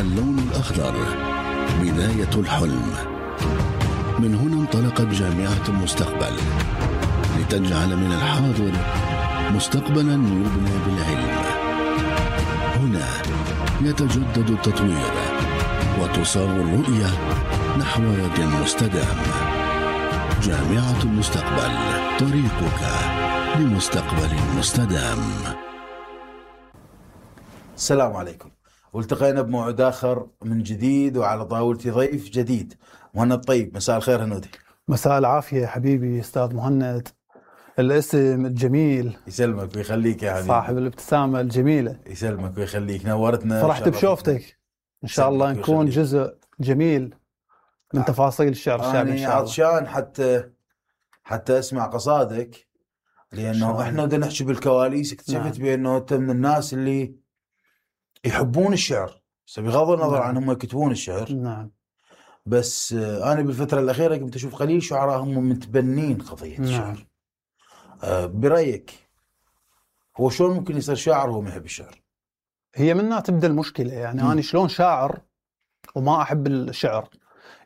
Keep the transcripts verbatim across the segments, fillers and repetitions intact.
اللون الأخضر بداية الحلم. من هنا انطلقت جامعة المستقبل لتجعل من الحاضر مستقبلا يبنى بالعلم. هنا يتجدد التطوير وتصاغ الرؤية نحو يد مستدام. جامعة المستقبل، طريقك لمستقبل مستدام. السلام عليكم، والتقينا بموعد آخر من جديد وعلى طاولتي ضيف جديد. مهند طيب، مساء الخير هنودي. مساء العافية حبيبي أستاذ مهند، الاسم الجميل. يسلمك ويخليك يا حبيبي. صاحب الابتسامة الجميلة. يسلمك ويخليك، نورتنا. فرحت بشوفتك، إن شاء الله نكون جزء جميل من تفاصيل الشعر الشعبي إن شاء الله. عطشان حتى حتى أسمع قصادك، لأنه إحنا بدنا نحكي بالكواليس. اكتشفت نعم. بأنه أنت من الناس اللي يحبون الشعر، بغض النظر نعم. عن هم يكتبون الشعر. نعم. بس أنا بالفترة الأخيرة كنت أشوف قليل شعراء هم متبنين قضية الشعر. نعم. أه برأيك هو شلون ممكن يصير شاعر وهو ما يحب الشعر؟ هي منها تبدأ المشكلة، يعني م. أنا شلون شاعر وما أحب الشعر؟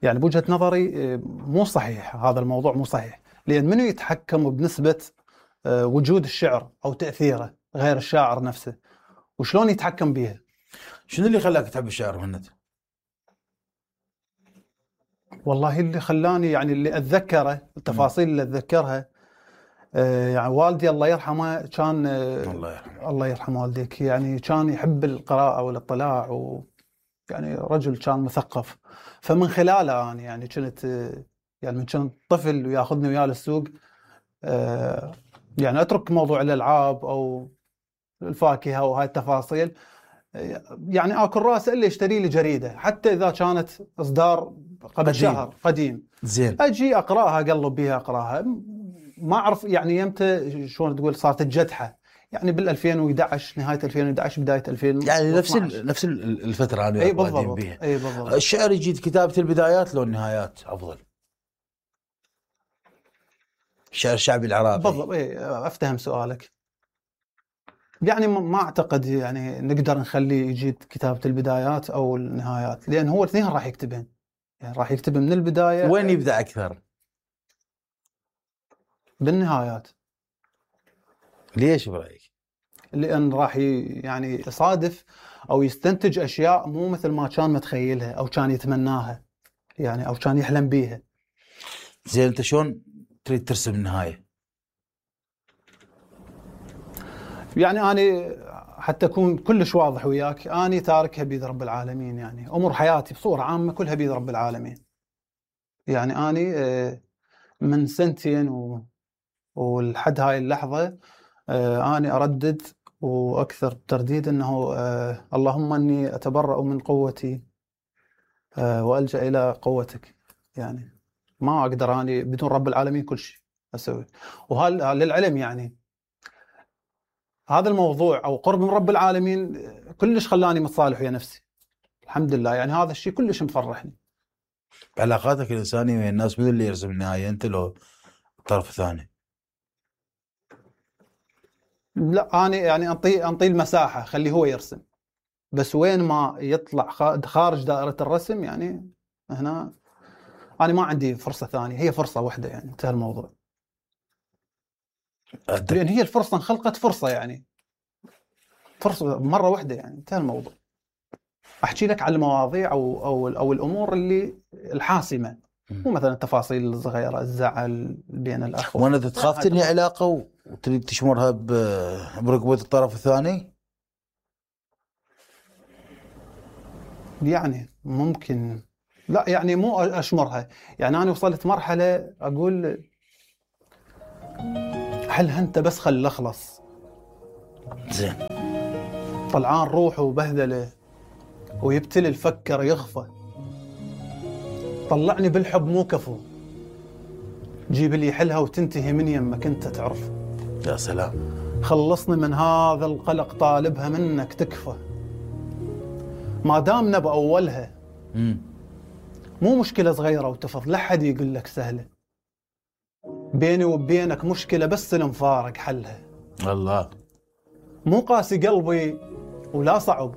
يعني بوجهة نظري مو صحيح، هذا الموضوع مو صحيح، لأن منو يتحكم بنسبة وجود الشعر أو تأثيره غير الشاعر نفسه، وشلون يتحكم بيها؟ شنو اللي خلاك تحب الشعر مهند؟ والله اللي خلاني يعني اللي أتذكره التفاصيل اللي أتذكرها، آه يعني والدي الله يرحمه كان آه الله يرحمه الله يرحم والديك، يعني كان يحب القراءة والاطلاع، ويعني رجل كان مثقف. فمن خلاله أنا يعني كنت آه يعني من كنت طفل وياخذني وياه للسوق، آه يعني أترك موضوع الألعاب أو الفاكهة وهاي التفاصيل، يعني آكل راس اللي يشتري لي جريدة حتى إذا كانت إصدار قبل قديم. شهر قديم زين، أجي أقرأها أقلب بها أقرأها، ما أعرف يعني يمتى شلون تقول صارت الجدحة، يعني بالألفين وإحدى عشر نهاية ألفين وإحدى عشر بداية ألفين يعني نفس نفس الفترة أنا أي بالضبط. بيها. أي بالضبط. الشعر يجي كتابة البدايات لو النهايات أفضل؟ الشعر الشعبي العراقي بالضبط. أي أفتهم سؤالك. يعني ما أعتقد يعني نقدر نخلي يجي كتابة البدايات أو النهايات، لأن هو الاثنين راح يكتبين، يعني راح يكتب من البداية. وين يبدأ أكثر؟ بالنهايات. ليش برأيك؟ لأن راح يعني يصادف أو يستنتج أشياء مو مثل ما كان متخيلها أو كان يتمناها، يعني أو كان يحلم بيها. زين، أنت شلون تريد ترسم النهاية؟ يعني أنا حتى أكون كلش واضح وياك، أنا تاركها بيد رب العالمين، يعني أمور حياتي بصورة عامة كلها بيد رب العالمين. يعني أنا من سنتين و... والحد هاي اللحظة أنا أردد وأكثر ترديد أنه اللهم أني أتبرأ من قوتي وألجأ إلى قوتك. يعني ما أقدر أنا بدون رب العالمين كل شيء أسوي. وهذا للعلم يعني هذا الموضوع أو قرب من رب العالمين كلش خلاني متصالح ويا نفسي الحمد لله، يعني هذا الشيء كلش مفرحني. علاقاتك الإنسانية ويا الناس من اللي يرسم النهاية، أنت لو الطرف الثاني؟ لا أنا يعني أنطي أنطي المساحة خليه هو يرسم، بس وين ما يطلع خارج دائرة الرسم يعني هنا أنا ما عندي فرصة ثانية، هي فرصة واحدة يعني انتهى الموضوع. أدك. لأن هي الفرصة انخلقت فرصة، يعني فرصة مرة واحدة يعني انتهى الموضوع. أحكي لك على المواضيع أو أو أو الأمور اللي الحاسمة، مو مثلا التفاصيل الصغيرة، الزعل بين الأخوة. وأنا تخاف تنهي علاقة وتريد تشمرها برقبة الطرف الثاني؟ يعني ممكن، لا يعني مو أشمرها، يعني أنا وصلت مرحلة أقول حلها أنت بس خل أخلص. زين. طلعان روحه وبهذله ويبتلي الفكر يغفى، طلعني بالحب مو كفو، جيب لي حلها وتنتهي من يمك انت تعرف. يا سلام. خلصني من هذا القلق طالبها منك تكفى، ما دامنا بأولها مم. مو مشكلة صغيرة وتفض، لا حد يقول لك سهلة، بيني وبينك مشكلة بس المفارق حلها. الله. مو قاسي قلبي ولا صعب،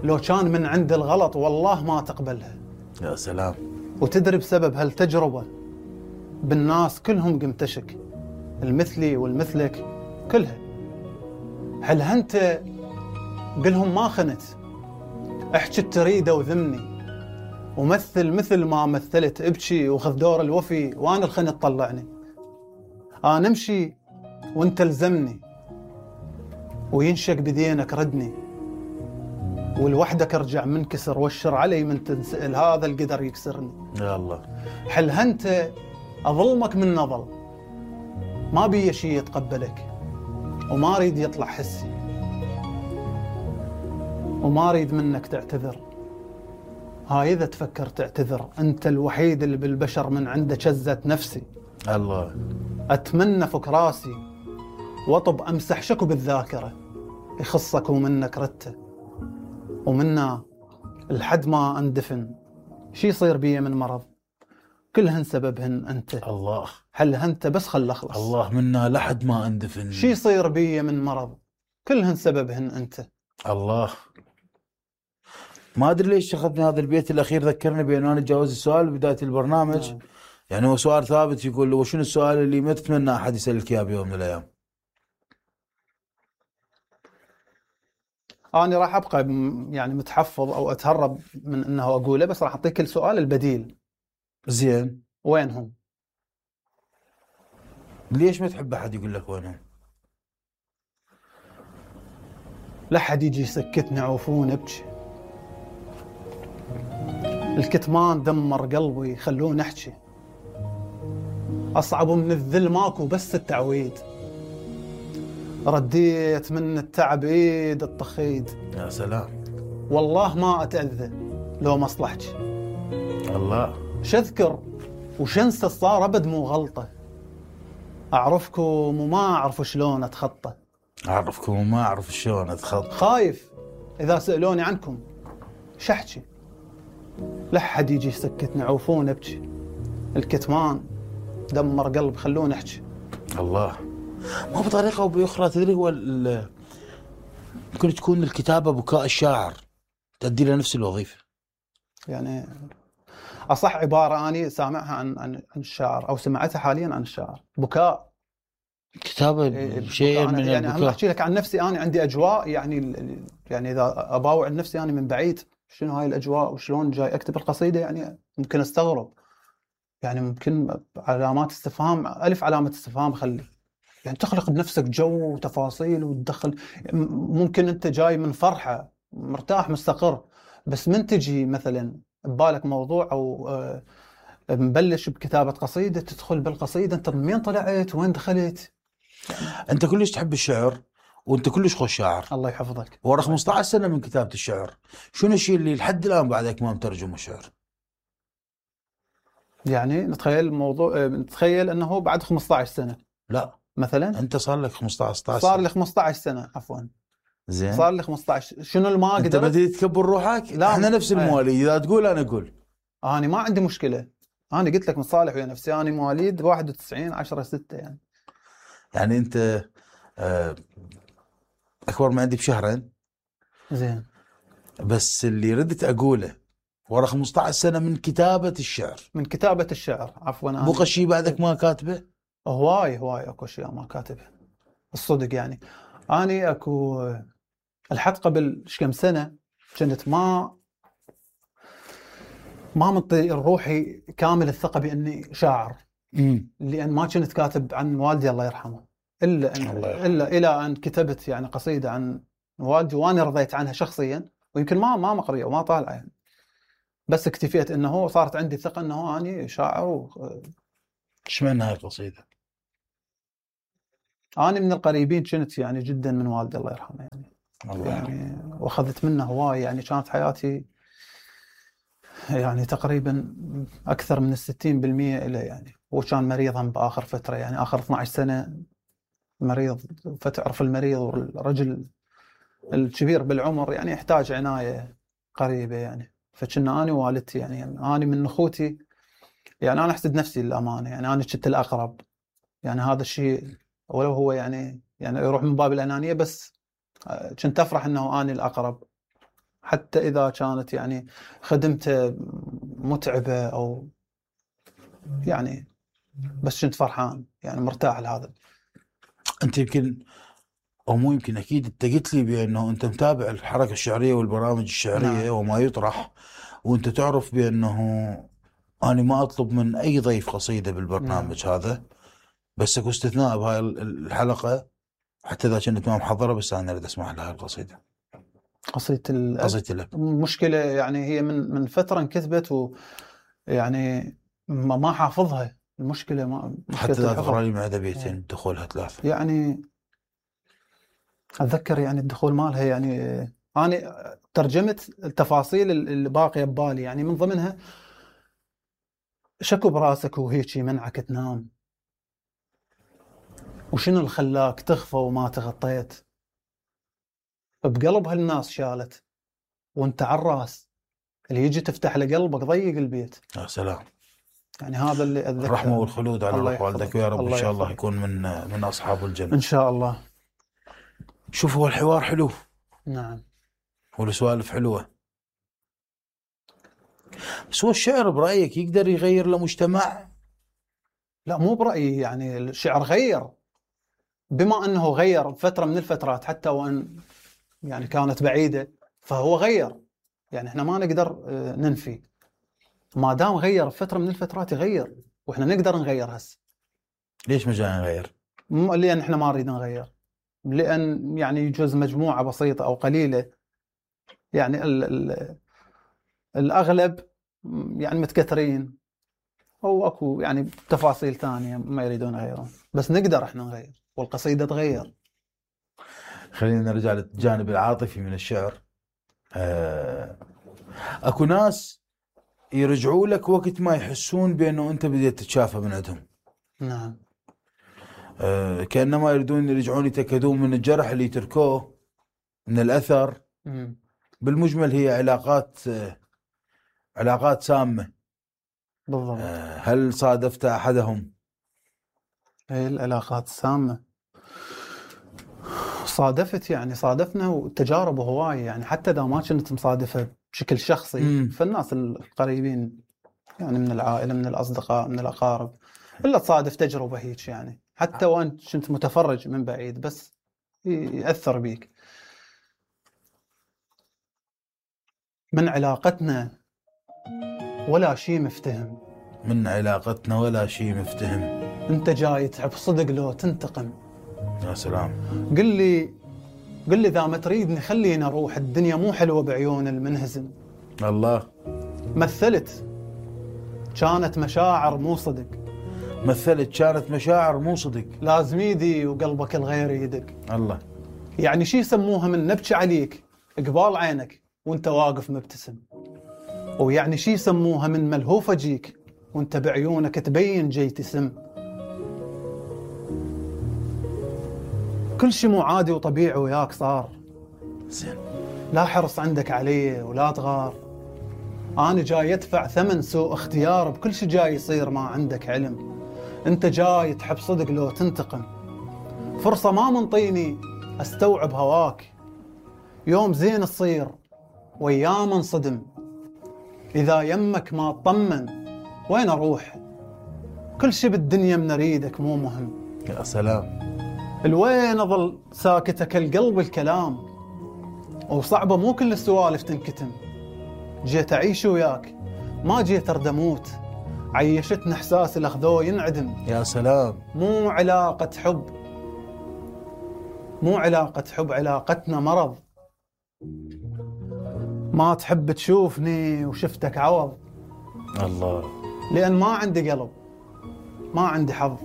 لو كان من عند الغلط والله ما تقبلها. يا سلام. وتدري بسبب هالتجربة بالناس كلهم قمت أشك، المثلي والمثلك كلها. هل أنت قلهم ما خنت، احكي تريده وذمني، ومثل مثل ما مثلت، ابكي وخذ دور الوفي، وانا الخنت طلعني. انا امشي وانت الزمني، وينشق بدينك ردني، ولوحدك ارجع منكسر، واشر علي من تنسأل، هذا القدر يكسرني. يا الله. حل انت اظلمك من نظل، ما بي شيء يتقبلك، وما اريد يطلع حسي، وما اريد منك تعتذر. هاي اذا تفكر تعتذر، انت الوحيد اللي بالبشر من عنده شزت نفسي. الله. اتمنى فك راسي واطب امسح شكو بالذاكره، يخصك ومنك رته، ومنا لحد ما اندفن. شي يصير بي من مرض كلهن سببهن انت. الله. حلها انت بس خل اخلص. الله منا لحد ما اندفن. شي يصير بي من مرض كلهن سببهن انت. الله. ما ادري ليش اخذني هذا البيت الاخير، ذكرني بانه انا اتجاوز السؤال بدايه البرنامج. نعم. يعني هو سؤال ثابت، يقول له وشنو السؤال اللي ما تتمنى احد يسالك اياه بيوم من الايام؟ انا راح ابقى يعني متحفظ او اتهرب من انه اقوله، بس راح اعطيك السؤال البديل. زين. وينهم؟ ليش ما تحب احد يقول لك وينهم؟ لا حد يجي يسكتني عوفون ابكي، الكتمان دمر قلبي خلوني احكي، اصعب من الذل ماكو بس التعويد، رديت من التعب ايد الطخيد. يا سلام. والله ما اتاذى لو مصلحتي. الله. شذكر وشنسى صار ابد مو غلطه، اعرفكم وما اعرف شلون اتخطى، اعرفكم وما اعرف شلون اتخطى، خايف اذا سالوني عنكم شحكي، لا حد يجي يسكتني عوفون ابكي، الكتمان دمر قلب خلوني احكي. الله. ما بطريقه او باخرى تدري هو ممكن تكون الكتابه بكاء الشاعر، تؤدي له نفس الوظيفه. يعني اصح عباره اني سامعها عن عن الشاعر او سمعتها حاليا عن الشاعر، بكاء. كتابه إيه شيء من يعني البكاء. انا احكي لك عن نفسي، انا عندي اجواء يعني يعني اذا اباوع نفسي يعني من بعيد شنو هاي الاجواء وشلون جاي اكتب القصيده، يعني ممكن استغرب، يعني ممكن علامات استفهام، الف علامه استفهام خلي، يعني تخلق بنفسك جو وتفاصيل وتدخل. ممكن انت جاي من فرحه مرتاح مستقر، بس من تجي مثلا ببالك موضوع او مبلش بكتابه قصيده، تدخل بالقصيده انت منين طلعت وين دخلت. انت كلش تحب الشعر وانت كلش خوش شاعر. الله يحفظك. ورا خمسة عشر سنه من كتابه الشعر، شنو الشيء اللي لحد الان بعدك ما مترجم الشعر؟ يعني نتخيل موضوع، نتخيل انه بعد خمسة عشر سنه. لا مثلا انت صار لك خمسة عشر ستة عشر صار لي خمسة عشر سنه عفوا. زين. صار لي خمسة عشر. شنو اللي ما قدرت؟ انت بديت تكبر روحك؟ لا احنا نفس المواليد، اذا تقول انا اقول. انا ما عندي مشكله، انا قلت لك مصالح ويا نفسي، انا مواليد واحد وتسعين عشرة ستة يعني. يعني انت اكبر من عندي بشهرين. زين. بس اللي ردت اقوله ورا خمسة عشر سنه من كتابه الشعر. من كتابه الشعر عفوا. بقى شيء بعدك ما كاتبه؟ هواي هواي اكو اشياء ما كاتبه الصدق. يعني اني اكو الحد قبل كم سنه كنت ما ما منطي روحي كامل الثقه باني شاعر. امم لان ما كنت كاتب عن والدي الله يرحمه، الا أن الله الا الى ان كتبت يعني قصيده عن والدي وانا رضيت عنها شخصيا، ويمكن ما ما مقريه وما طالعه يعني. بس اكتفيت انه صارت عندي ثقه انه اني شاعر. و... ايش معنى هاي القصيده؟ انا من القريبين كنت يعني جدا من والدي الله يرحمه يعني. الله يعني واخذت منه هواي، يعني كانت حياتي يعني تقريبا اكثر من الستين بالمئة له يعني. هو كان مريض هم باخر فتره، يعني اخر اثنتي عشرة سنه مريض، فتعرف المريض والرجل الكبير بالعمر يعني يحتاج عنايه قريبه يعني. فكنا انا ووالدتي يعني, يعني انا من اخوتي يعني انا احسد نفسي للامانه، يعني انا كنت الاقرب، يعني هذا الشيء ولو هو يعني يعني يروح من باب الانانيه، بس كنت افرح انه انا الاقرب. حتى إذا كانت يعني خدمته متعبة أو يعني، بس كنت فرحان يعني مرتاح لهذا. أنت يمكن أو مو يمكن أكيد أنت قلت لي بأنه أنت متابع الحركة الشعرية والبرامج الشعرية نعم. وما يطرح، وأنت تعرف بأنه أنا ما أطلب من أي ضيف قصيدة بالبرنامج نعم. هذا، بس أكو استثناء بهاي الحلقة حتى إذا كنت ما محضرة، بس أنا أريد أسمع لها القصيدة. قصيدة الأب. قصيدة الأب مشكلة يعني هي من من فترة انكتبت ويعني ما ما حافظها. المشكلة ما حتى إذا تقرأ لي معدة بيتين دخولها ثلاثة يعني. أتذكر يعني الدخول مالها يعني أنا ترجمت التفاصيل اللي باقية ببالي، يعني من ضمنها شكو براسك وهيك منعك تنام، وشنو اللي خلاك تخفى وما تغطيت، بقلب هالناس شالت وانت عالراس، اللي يجي تفتح له قلبك ضيق البيت. يا سلام. يعني هذا اللي أتذكر. الرحمة والخلود على روح والدك ويا رب إن شاء الله يكون من من أصحاب الجنة إن شاء الله. شوف هو الحوار حلو. نعم. والسوالف حلوة، بس هو الشعر برأيك يقدر يغير لمجتمع؟ لا مو برأيي، يعني الشعر غير، بما أنه غير فترة من الفترات حتى وأن يعني كانت بعيدة، فهو غير، يعني إحنا ما نقدر ننفي، ما دام غير فترة من الفترات يغير، وإحنا نقدر نغير هسه. ليش مجال نغير؟ لأن إحنا ما نريد نغير، لأن يعني يجوز مجموعة بسيطة أو قليلة، يعني ال ال الأغلب يعني متكثرين، أو أكو يعني تفاصيل ثانية ما يريدون يغيرون، بس نقدر إحنا نغير، والقصيدة تغير. خلينا نرجع للجانب العاطفي من الشعر. آه، أكو ناس يرجعوا لك وقت ما يحسون بأنه أنت بديت تتشافى من عندهم. نعم. آه، كأنما يريدون يرجعون يتأكدون من الجرح اللي تركوه، من الأثر. مم. بالمجمل هي علاقات آه، علاقات سامة. بالضبط. آه، هل صادفت أحدهم؟ هي العلاقات السامة صادفت، يعني صادفنا وتجارب هواية، يعني حتى إذا ما كنت مصادفة بشكل شخصي مم. فالناس القريبين يعني من العائلة من الأصدقاء من الأقارب، إلا تصادف تجربة هيك، يعني حتى وأنت كنت متفرج من بعيد بس يأثر بيك. من علاقتنا ولا شيء مفتهم، من علاقتنا ولا شيء مفتهم. أنت جاي تحب صدق لو تنتقم. يا سلام. قل لي قل لي إذا ما تريدني خلينا أروح، الدنيا مو حلوة بعيون المنهزم. الله. مثلت كانت مشاعر مو صدق. مثلت كانت مشاعر مو صدق. لازم يدي وقلبك الغير يدق. الله. يعني شي يسموها من نبكي عليك قبال عينك وانت واقف مبتسم، ويعني شي يسموها من ملهوف اجيك وانت بعيونك تبين جاي تسم. كل شي مو عادي وطبيعي وياك صار زين. لا حرص عندك عليه ولا تغار. أنا جاي أدفع ثمن سوء اختيار بكل شي جاي يصير، ما عندك علم. أنت جاي تحب صدق لو تنتقم. فرصة ما منطيني أستوعب هواك، يوم زين تصير وأيام انصدم. إذا يمك ما تطمن وين أروح؟ كل شي بالدنيا من أريدك مو مهم. يا سلام. الوين أظل ساكتك القلب الكلام، وصعبة مو كل السوالف تنكتم. جيت أعيش وياك ما جيت أرد أموت، عيشتنا إحساس الأخذو ينعدم. يا سلام. مو علاقة حب مو علاقة حب علاقتنا مرض. ما تحب تشوفني وشفتك عوض. الله. لأن ما عندي قلب ما عندي حظ.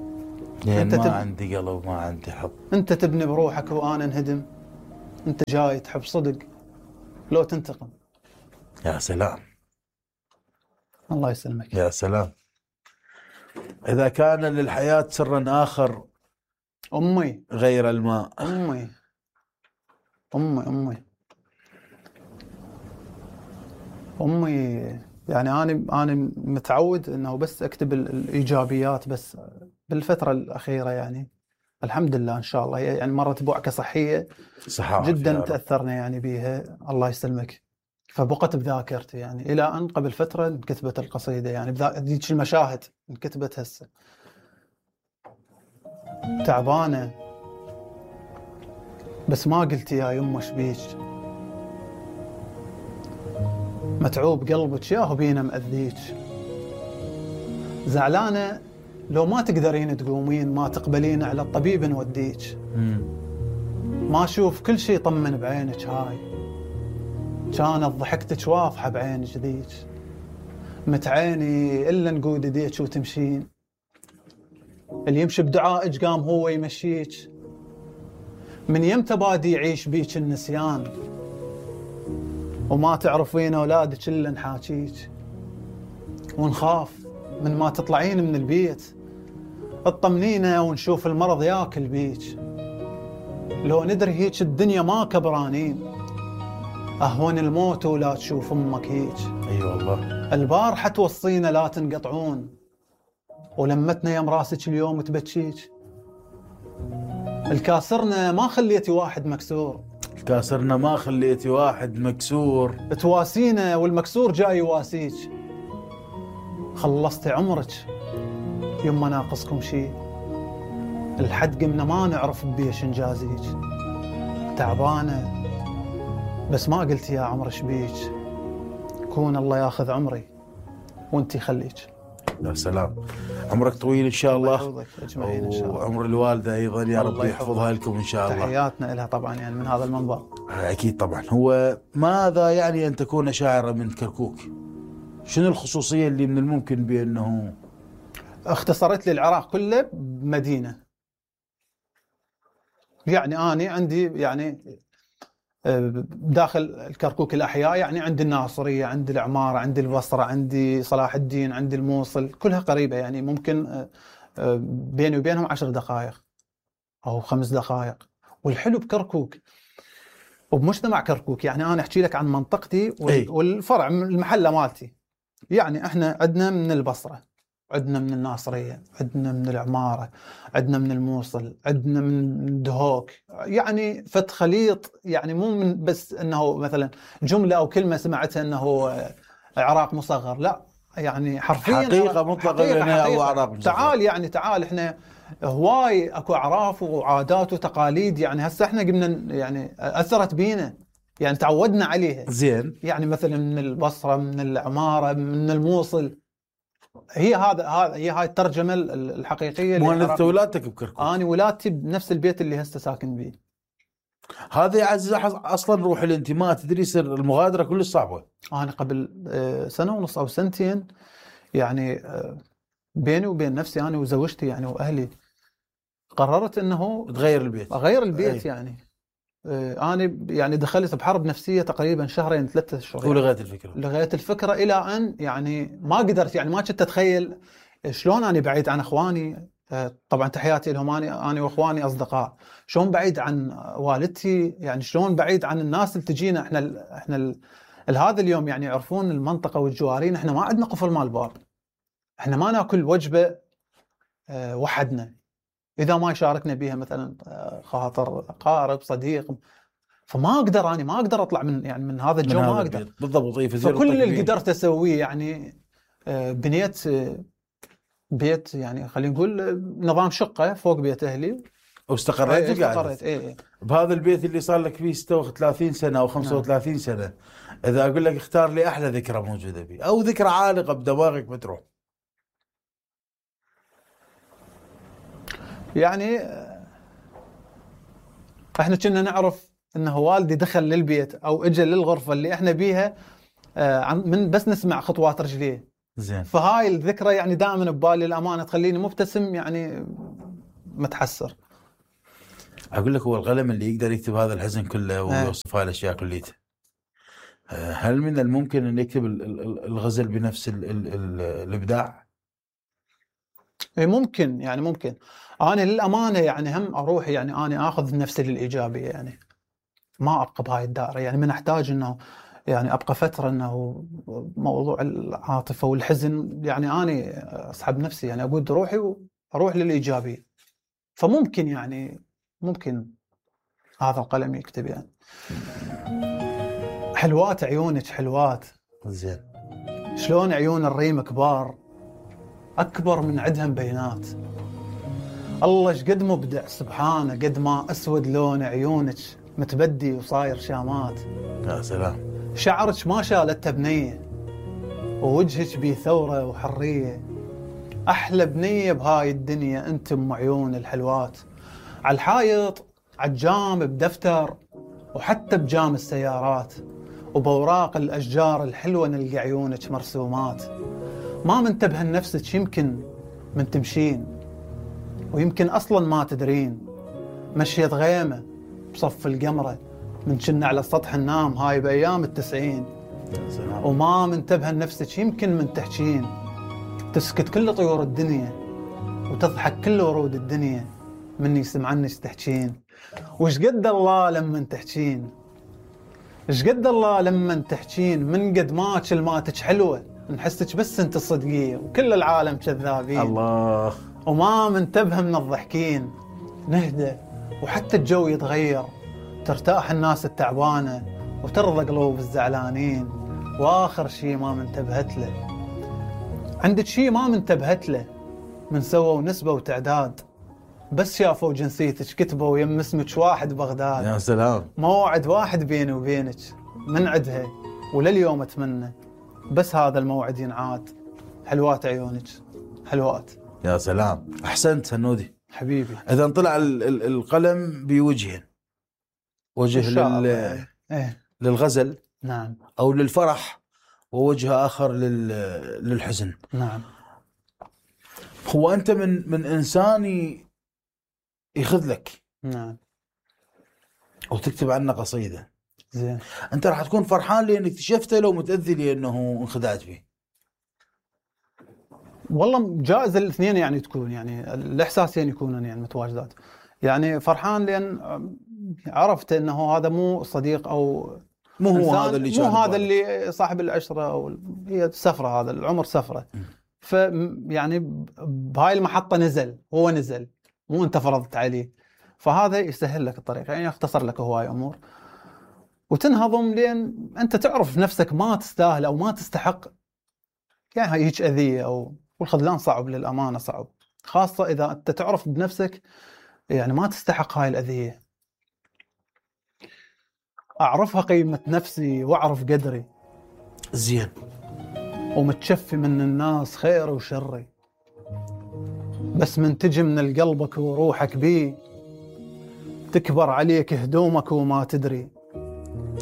لأن أنت ما تب... عندي قلب ما عندي حظ. أنت تبني بروحك وأنا انهدم. أنت جاي تحب صدق لو تنتقم. يا سلام. الله يسلمك. يا سلام. إذا كان للحياة سرا آخر أمي غير الماء. أمي أمي أمي أمي يعني أنا أنا متعود إنه بس أكتب الإيجابيات، بس بالفترة الأخيرة يعني الحمد لله إن شاء الله يعني مرت بوعكة صحية صحة جدا تأثرنا يعني بيها. الله يسلمك. فبقت بذاكرتي يعني إلى أن قبل فترة انكتبت القصيدة، يعني ذيك المشاهد انكتبت هسه. تعبانة بس ما قلت يا يمه شبيك، متعوب قلبك ياهو بينا مأذيك، زعلانة لو ما تقدرين تقومين ما تقبلين على الطبيب نوديك، ما أشوف كل شي طمن بعينك هاي، كانت ضحكتك واضحة بعينك ذيك، متعيني إلا نقود يديك وتمشين، اللي يمشي بدعائك قام هو يمشيك، من يمتى بادي يعيش بيك النسيان، وما تعرفين أولادك إلا نحاكيك، ونخاف من ما تطلعين من البيت اطمنينا ونشوف المرض ياكل بيك، لو ندري هيك الدنيا ما كبرانين، أهون الموت ولا تشوف أمك هيك. أي أيوة والله. البارحة توصينا لا تنقطعون، ولمتنا يم راسك اليوم تبكيك، الكاسرنا ما خليتي واحد مكسور، الكاسرنا ما خليتي واحد مكسور، تواسينا والمكسور جاي يواسيك، خلصتي عمرك يما ناقصكم شي، الحد قمنا ما نعرف بيش نجازيك، تعبانة بس ما قلت يا عمر شبيك، كون الله ياخذ عمري وانتي خليك. يا سلام، عمرك طويل إن شاء الله، الله يحفظك أجمعين إن شاء الله، وعمر الوالدة أيضا يا رب يحفظها لكم إن شاء الله. تحياتنا لها طبعا يعني من هذا المنبر. أكيد طبعا. هو ماذا يعني أن تكون شاعرة من كركوك؟ شنو الخصوصية اللي من الممكن بأنه اختصرت لي العراق كله بمدينة، يعني أنا عندي يعني داخل الكركوك الأحياء، يعني عندي الناصرية، عندي العمارة، عندي البصرة، عندي صلاح الدين، عندي الموصل، كلها قريبة، يعني ممكن بيني وبينهم عشر دقائق أو خمس دقائق. والحلو بكركوك وبمجتمع كركوك، يعني أنا أحكي لك عن منطقتي والفرع المحلة مالتي، يعني إحنا عندنا من البصرة، عندنا من الناصرية، عندنا من العمارة، عندنا من الموصل، عندنا من دهوك، يعني فت خليط، يعني مو من بس أنه مثلا جملة أو كلمة سمعتها أنه عراق مصغر، لا يعني حرفيا حقيقة مطلقة أو عراق مصغر. تعال يعني تعال إحنا هواي أكو أعراف وعادات وتقاليد، يعني هسه إحنا قمنا يعني أثرت بينا، يعني تعودنا عليها زين، يعني مثلا من البصرة، من العمارة، من الموصل، هي هذا هذا هي هاي الترجمه الحقيقيه. مو انت ولادتك بكركوك؟ انا ولادتي بنفس البيت اللي هسه ساكن بيه. هذا يعزز اصلا روح الانتماء، تدري سر المغادره كلش صعبه. انا قبل سنه ونص او سنتين يعني بيني وبين نفسي انا وزوجتي يعني واهلي قررت انه تغير البيت، اغير البيت. أي. يعني انا يعني دخلت بحرب نفسيه تقريبا شهرين ثلاثة اشهر، ولغيت الفكره لغيت الفكره الى ان يعني ما قدرت، يعني ما كنت اتخيل شلون انا بعيد عن اخواني. طبعا تحياتي لهم، انا انا واخواني اصدقاء، شلون بعيد عن والدتي، يعني شلون بعيد عن الناس اللي تجينا. احنا ال احنا ال هذا اليوم يعني يعرفون المنطقه والجوارين، احنا ما عندنا قفل مال باب، احنا ما ناكل وجبه وحدنا اذا ما يشاركنا بها مثلا خاطر قارب صديق. فما اقدر انا ما اقدر اطلع من يعني من هذا الجو، ما اقدر بالضبط. فكل اللي قدرت اسويه يعني بنيت بيت، يعني خلينا نقول نظام شقه فوق بيت اهلي، واستقريت. ايه استقريت ايه ايه بهذا البيت اللي صار لك فيه ستة وثلاثين سنه او خمسة وثلاثين نعم. سنه. اذا اقول لك اختار لي احلى ذكرى موجوده فيه او ذكرى عالقه بدماغك بتروح، يعني احنا كنا نعرف انه والدي دخل للبيت او اجى للغرفه اللي احنا بيها من بس نسمع خطوات رجليه. زين. فهاي الذكرى يعني دائما ببالي، الامانه تخليني مبتسم يعني متحسر. اقول لك هو القلم اللي يقدر يكتب هذا الحزن كله ويوصف هاي الاشياء كليتها. هل من الممكن ان يكتب الغزل بنفس ال ال ال الابداع؟ ممكن، يعني ممكن. انا للامانه يعني هم اروح يعني انا اخذ نفسي للايجابيه، يعني ما ابقى بهاي الدائره، يعني من احتاج انه يعني ابقى فتره انه موضوع العاطفه والحزن، يعني انا اسحب نفسي، يعني اقود روحي واروح للايجابيه. فممكن يعني ممكن هذا القلم يكتب يعني. حلوات عيونك حلوات. زين. شلون عيون الريم كبار أكبر من عدهم بينات. الله ايش قد مبدع سبحانه، قد ما أسود لون عيونك متبدي وصاير شامات. يا سلام. شعرك ما شالته بنية ووجهك بيه ثورة وحرية. أحلى بنية بهاي الدنيا أنت أم عيون الحلوات. على الحايط عالجام بدفتر وحتى بجام السيارات وبوراق الأشجار الحلوة نلقى عيونك مرسومات. ما منتبه لنفسك يمكن من تمشين ويمكن أصلا ما تدرين. مشيت غيمة بصف القمرة من كنا على سطح النام هاي بأيام التسعين. وما منتبه لنفسك يمكن من تحكين. تسكت كل طيور الدنيا وتضحك كل ورود الدنيا مني سمعنك تحكين. وش قد الله لما تحكين، ايش قد الله لما تحكين. من قد ما كلماتك حلوة نحسك بس انت الصدقية وكل العالم كذابين. الله. وما منتبه من الضحكين. نهدى وحتى الجو يتغير، ترتاح الناس التعبانة وترضى قلوب الزعلانين. واخر شي ما منتبهت له، عندك شي ما منتبهت له، من سووا نسبة وتعداد بس شافوا جنسيتك كتبوا يم اسمك واحد بغداد. يا سلام. موعد واحد بيني وبينك من عدها ولليوم اتمنى بس هذا الموعد ينعاد. حلوات عيونك حلوات. يا سلام. احسنت هنودي حبيبي. اذا طلع ال ال القلم بوجهين، وجه لل إيه؟ للغزل نعم، او للفرح، ووجه اخر لل للحزن. نعم. هو انت من من انسان يخذلك، نعم، وتكتب عنه قصيدة، زين، انت راح تكون فرحان لان اكتشفته لو متأذي لانه انخدعت فيه؟ والله جائز الاثنين يعني تكون، يعني الاحساسين يكونون يعني متواجدات. يعني فرحان لان عرفت انه هذا مو صديق او مو هو هذا اللي مو هذا اللي صاحب العشرة او هي سفرة، هذا العمر سفرة. ف يعني بهاي المحطة نزل، هو نزل مو انت فرضت عليه، فهذا يسهل لك الطريق، يعني يختصر لك هواي امور وتنهضم لين انت تعرف نفسك ما تستاهل او ما تستحق يعني هيك اذية. او والخذلان صعب للامانة، صعب خاصة اذا انت تعرف بنفسك يعني ما تستحق هاي الاذية. اعرفها قيمة نفسي واعرف قدري، زين، ومتشفي من الناس خير وشري، بس من تجي من القلبك وروحك بيه تكبر عليك هدومك وما تدري.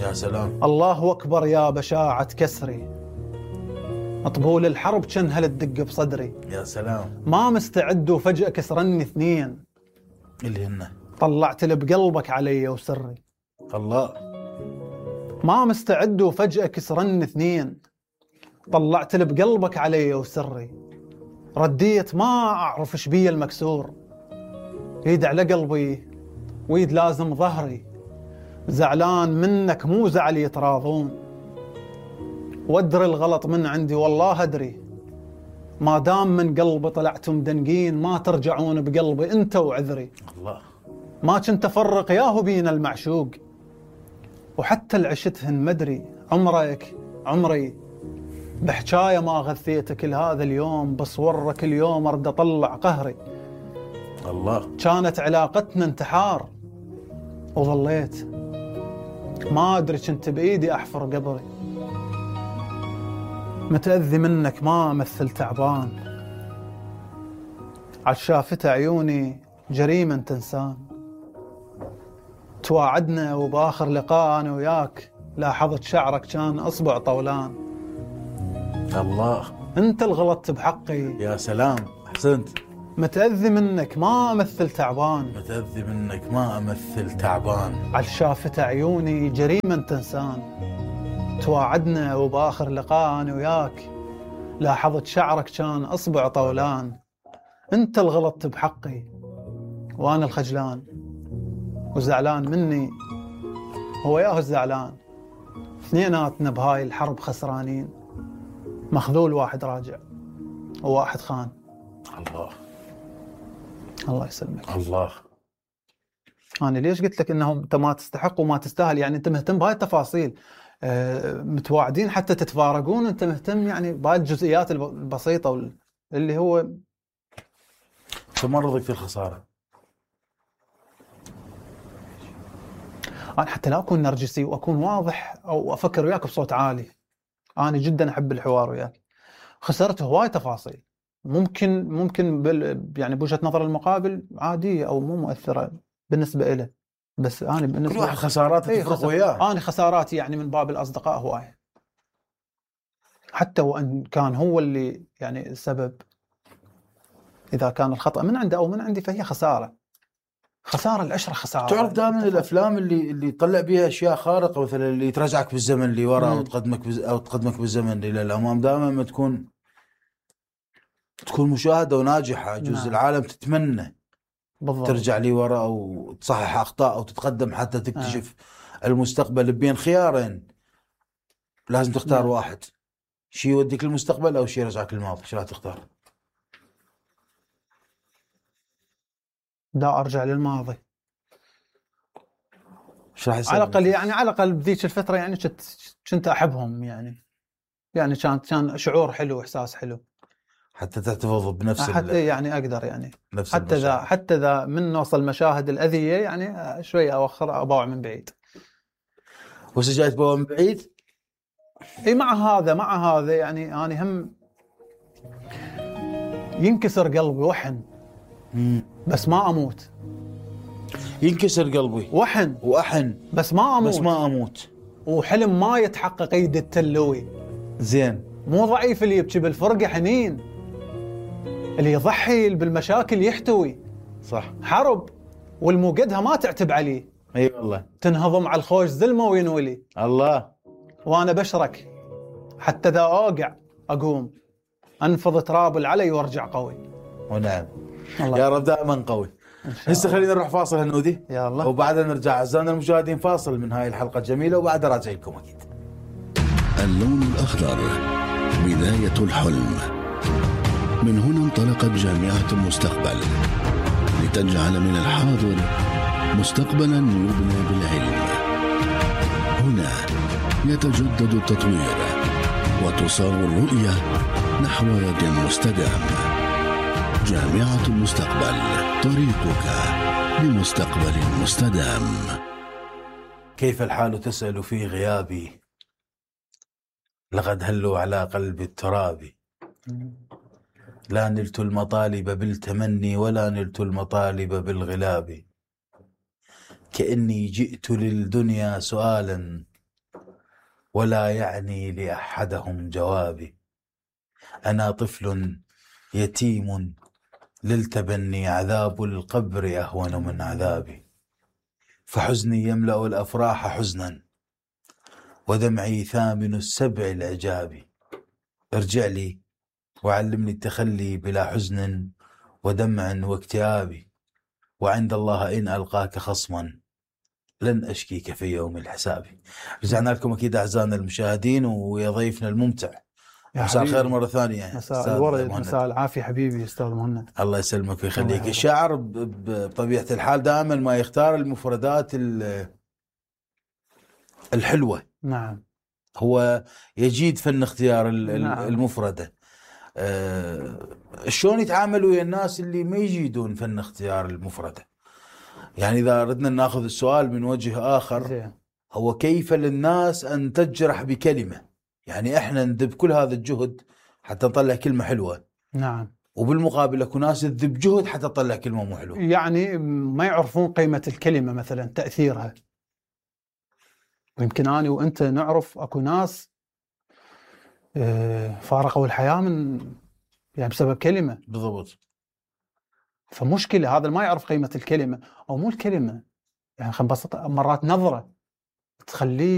يا سلام. الله أكبر يا بشاعة كسري، مطبول الحرب كان هل تدق بصدري. يا سلام. ما مستعد وفجأة كسرني اثنين، اللي هن طلعت اللي بقلبك علي وسري. الله. ما مستعد وفجأة كسرني اثنين، طلعت اللي بقلبك علي وسري. رديت ما أعرف إيش بي المكسور، يد على قلبي ويد لازم ظهري. زعلان منك مو زعل يتراضون، وادري الغلط من عندي والله أدري. ما دام من قلبي طلعتم دنقين، ما ترجعون بقلبي أنت وعذري. الله. ما كنت أفرق ياهو بين المعشوق، وحتى العشتهن مدري. عمرك عمري بحكاية ما غثيتك كل هذا اليوم، بصورك اليوم أرد أطلع قهري. الله. كانت علاقتنا انتحار وظليت ما أدري كنت بإيدي أحفر قبري. متأذي منك ما أمثل تعبان، عشافت عيوني جريمة تنسان. تواعدنا وبآخر لقاء أنا وياك لاحظت شعرك كان أصبع طولان. الله. أنت الغلطت بحقي. يا سلام. أحسنت. متأذي منك ما أمثل تعبان، متأذي منك ما أمثل تعبان. عشافت عيوني جريمة تنسان. تواعدنا وبآخر لقاء أنا وياك لاحظت شعرك كان أصبع طولان. أنت الغلطت بحقي وأنا الخجلان، وزعلان مني هو ياهو الزعلان. اثنيناتنا بهاي الحرب خسرانين، مخذول واحد راجع وواحد خان. الله. الله يسلمك. الله. أنا ليش قلت لك إنهم أنت ما تستحق وما تستاهل؟ يعني أنت مهتم بهاي التفاصيل، متواعدين حتى تتفارقون، انت مهتم يعني بهالجزئيات البسيطه اللي هو تمرضك في الخساره. انا حتى لا اكون نرجسي واكون واضح او افكر وياك بصوت عالي، انا جدا احب الحوار وياك. خسرت هواي تفاصيل ممكن ممكن بال يعني بوجهه نظر المقابل عاديه او مو مؤثره بالنسبه له، بس انا بالنسبه كل واحد خسارات ايه تفرق وياه. انا خساراتي يعني من باب الاصدقاء هواي، حتى وان كان هو اللي يعني السبب، اذا كان الخطا من عنده او من عندي فهي خساره. خساره العشره خساره. تعرف دائما الافلام اللي اللي يطلع بيها اشياء خارقه، مثلا اللي ترجعك بالزمن اللي ورا او تقدمك بز... او تقدمك بالزمن الى الامام، دائما ما تكون تكون مشاهده وناجحه. جزء نعم. العالم تتمنى بالضبط ترجع لي ورا او تصحح اخطاء او تتقدم حتى تكتشف آه. المستقبل بين خيارين، لازم تختار نعم. واحد، شيء يوديك للمستقبل او شيء يرجعك للماضي، شو راح تختار؟ دا ارجع للماضي. شو راح يصير؟ على الاقل يعني على الاقل بذيك الفتره يعني كنت كنت احبهم، يعني يعني كان كان شعور حلو، احساس حلو، حتى تحتفظ بنفس حتى يعني اقدر يعني حتى ذا حتى ذا من نوصل مشاهد الاذيه يعني شويه اوخر ابوع من بعيد. وش جاي تبوع من بعيد؟ اي مع هذا مع هذا يعني انا هم ينكسر قلبي وحن مم. بس ما اموت. ينكسر قلبي وحن واحن بس ما اموت بس ما اموت وحلم ما يتحقق يد التلوي. زين، مو ضعيف اللي يبكي بالفرقه حنين، اللي يضحي بالمشاكل يحتوي. صح، حرب والموقدها ما تعتب عليه. اي أيوة والله، تنهضم على الخوش ذلمه وينولي الله. وانا بشرك حتى ذا اوقع اقوم انفض تراب العلي وارجع قوي. ونعم يا رب دائما قوي. هسه خلينا نروح فاصل هنودي يا الله، وبعدها نرجع اعزائنا المشاهدين فاصل من هاي الحلقه الجميله وبعدها راجع لكم اكيد. اللون الاخضر بدايه الحلم. من هنا انطلقت جامعه المستقبل لتجعل من الحاضر مستقبلا يبنى بالعلم. هنا يتجدد التطوير وتصاغ الرؤيه نحو يد مستدام. جامعة المستقبل، طريقك لمستقبل مستدام. كيف الحال تسأل في غيابي؟ لقد هلوا على قلب التراب. لا نلت المطالب بالتمني ولا نلت المطالب بالغلاب. كأني جئت للدنيا سؤالا ولا يعني لأحدهم جوابي. أنا طفل يتيم للتبني عذاب القبر أهون من عذابي. فحزني يملأ الأفراح حزنا ودمعي ثامن السبع العجاب. ارجع لي وعلمني التخلي بلا حزن ودمع واكتئاب. وعند الله إن ألقاك خصما لن أشكيك في يوم الحساب. رجعنا لكم أكيد أعزائنا المشاهدين ويا ضيفنا الممتع. مساء الخير مرة ثانية. مساء الورد، مساء العافية حبيبي أستاذ مهند. الله يسلمك ويخليك. الشاعر بطبيعة الحال دائما ما يختار المفردات الحلوة. نعم، هو يجيد فن اختيار نعم. المفردة. أه شلون يتعاملوا ويا الناس اللي ما يجيدون فن اختيار المفردة؟ يعني إذا ردنا ناخذ السؤال من وجه آخر زي. هو كيف للناس أن تجرح بكلمة؟ يعني إحنا ندب كل هذا الجهد حتى نطلع كلمة حلوة. نعم. وبالمقابل اكو ناس تذب جهد حتى تطلع كلمة مو حلوة. يعني ما يعرفون قيمة الكلمة مثلا، تأثيرها. ويمكن أنا وأنت نعرف اكو ناس فارقوا الحياة من يعني بسبب كلمة. بالضبط. فمشكلة هذا ما يعرف قيمة الكلمة، أو مو الكلمة، يعني خلينا نبسط، مرات نظرة تخليه